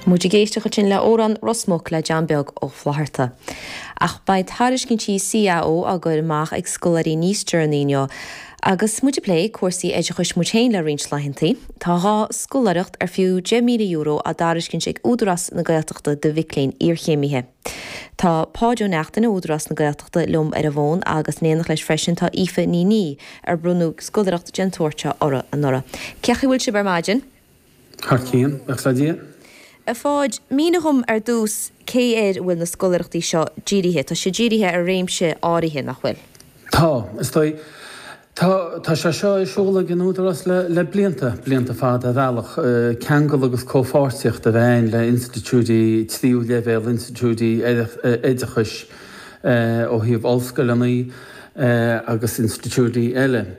Muid ag éisteacht ansin le Amhrán Ros Muc le John Beag Ó Flatharta. Ach beidh tairiscintí CAO á gcur amach ag scoláirí níos deireanaí inniu. Agus muid ag plé cúrsaí oideachais muid féin le roinnt laethantaí, tá 2 scoláireacht ar fiú €10,000 á dtairiscint ag Údarás na Gaeltachta do mhic léinn iarchéimithe. Tá Páid Ó Neachtain ó Údarás na Gaeltachta liom ar an bhfón agus in éineacht leis freisin tá Aoife Ní Niadh ar bronnadh scoláireacht den tsórt seo uirthi anuraidh. Cén chaoi a bhfuil sibh ar maidin? Thar cionn, buíochas le Dia. A Pháid, mínigh dhom ar dtús cé air a bhfuil na scoláireachtaí seo dírithe. Tá siad dírithe ar réimse áirithe, nach bhfuil? Tá, is dóigh. Tá, tá sé seo ar siúl ag an Údarás le, le blianta, blianta fada ar bhealach, ceangal agus comhpháirtíocht a bheith ann le institiúidí tríú leibhéal, institiúidí oideachais ó thaobh ollscoileanna agus institiúidí eile.